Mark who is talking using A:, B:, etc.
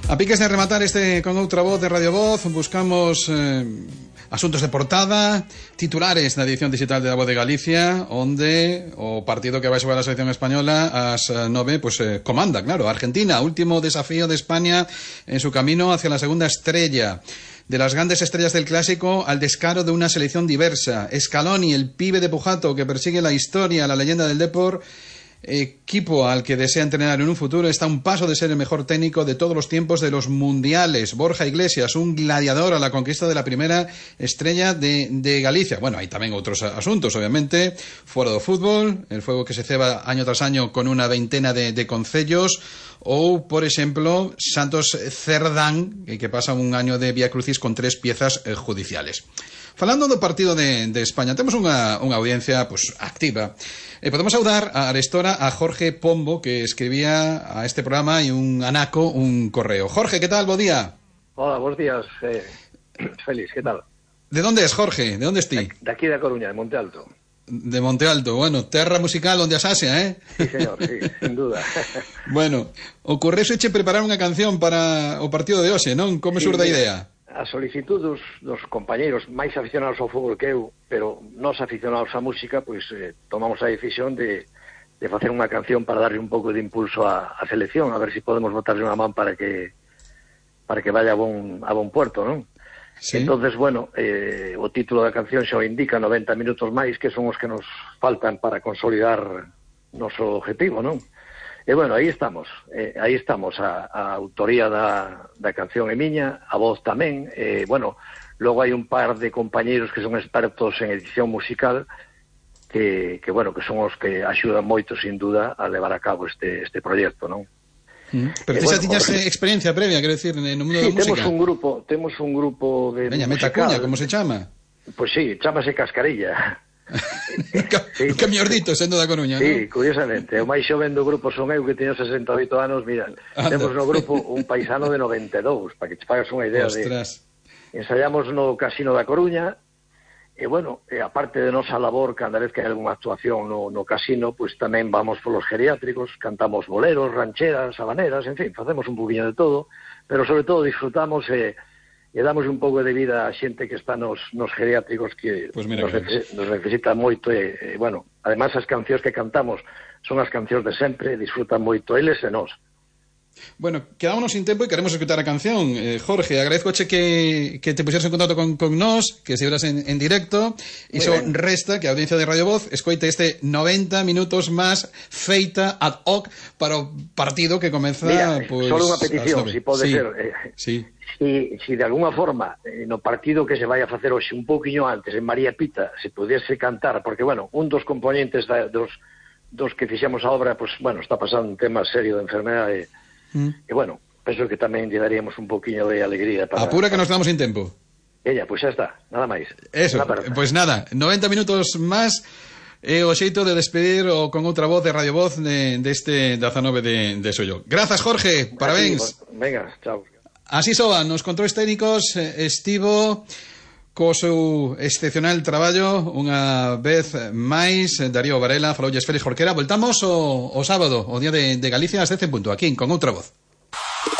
A: A piques de rematar este con outra voz de Radio Voz, buscamos asuntos de portada, titulares na edición digital de La Voz de Galicia, onde o partido que vai xogar a selección española ás 9, pues comanda, claro, Argentina, último desafío de España en su camino hacia la segunda estrella. De las grandes estrellas del clásico al descaro de una selección diversa. Scaloni, el pibe de Pujato que persigue la historia, la leyenda del Depor, equipo al que desea entrenar en un futuro, está a un paso de ser el mejor técnico de todos los tiempos de los mundiales. Borja Iglesias, un gladiador a la conquista de la primera estrella de Galicia. Bueno, hay tamén outros asuntos, obviamente. Fora do fútbol, el fuego que se ceba año tras año con una veintena de concellos, ou, por exemplo, Santos Cerdán, que pasa un año de Vía Crucis con 3 piezas judiciales. Falando do partido de España, temos unha audiencia pues activa. Podemos saudar a Arestora a Jorge Pombo, que escribía a este programa y un anaco, un correo. Jorge, ¿qué tal? Bo día.
B: Hola, buenos días, Félix, ¿qué tal?
A: ¿De dónde es, Jorge? ¿De dónde estás?
B: De aquí de Coruña, de Monte Alto.
A: De Monte Alto, bueno, terra musical onde asasia, ¿eh?
B: Sí, señor, sí, sin duda.
A: Bueno, ocorreuseche preparar unha canción para o partido de hoxe, non? Como surda a idea?
B: A solicitud dos compañeiros máis aficionados ao fútbol que eu, pero nós aficionados á música, pois tomamos a decisión de facer unha canción para darle un pouco de impulso á selección, a ver se podemos botarle unha man para que vaya a bon puerto, non? Sí. Entonces, bueno, o título da canción xa o indica, 90 minutos máis, que son os que nos faltan para consolidar noso objetivo, non? E bueno, aí estamos, a autoría da canción é miña, a voz tamén, bueno, logo hai un par de compañeiros que son expertos en edición musical que bueno, que son os que axudan moito, sin duda, a levar a cabo este proxecto, non?
A: Pero ti xa tiñas experiencia previa, quero decir, no mundo da música.
B: Sí, temos un grupo de
A: Veña, meta cuña, como se chama?
B: Pois sí, chamase Cascarilla.
A: Un camiordito sendo da Coruña,
B: sí,
A: ¿no?
B: Curiosamente, o máis xoven do grupo son eu, que teño 68 anos. Mira, temos no grupo un paisano de 92, para que te fagas unha idea.
A: Ostras.
B: Ensayamos no Casino da Coruña, e bueno, aparte de nosa labor, cada vez que hai algunha actuación no casino, pues tamén vamos polos geriátricos, cantamos boleros, rancheras, habaneras, en fin, facemos un poquinho de todo, pero sobre todo disfrutamos e damos un pouco de vida a xente que está nos geriátricos, que pues nos necesita moito, e bueno, además as cancións que cantamos son as cancións de sempre, disfrutan moito eles e nós.
A: Bueno, quedámonos sin tempo e queremos escutar a canción. Jorge, agradezcoche que te pusieras en contacto con nós, que se veras en directo. Iso resta que a audiencia de Radio Voz escoite este 90 minutos máis feita ad hoc para o partido que comeza.
B: Mira,
A: pues,
B: solo unha petición, si pode ser.
A: Sí.
B: Si de alguna forma no partido que se vai a facer hoxe un pouquiño antes en María Pita se pudiese cantar, porque bueno, un dos componentes dos que fixemos a obra, pues bueno, está pasando un tema serio de enfermedade. E bueno, penso que tamén lle daríamos un poquinho de alegría para...
A: Apura que nos quedamos sin tempo.
B: Ella, pois xa está, nada máis.
A: Eso, pois nada, 90 minutos máis e o xeito de despedir o con outra voz de Radio Voz deste 19 de xollo. Grazas, Jorge, parabéns.
B: Venga, chao.
A: Así soan, nos controles técnicos estivo co seu excepcional traballo unha vez máis Darío Varela, faloulles Félix Jorquera. Voltamos o sábado, o día de Galicia ás 10 en punto, aquí con outra voz.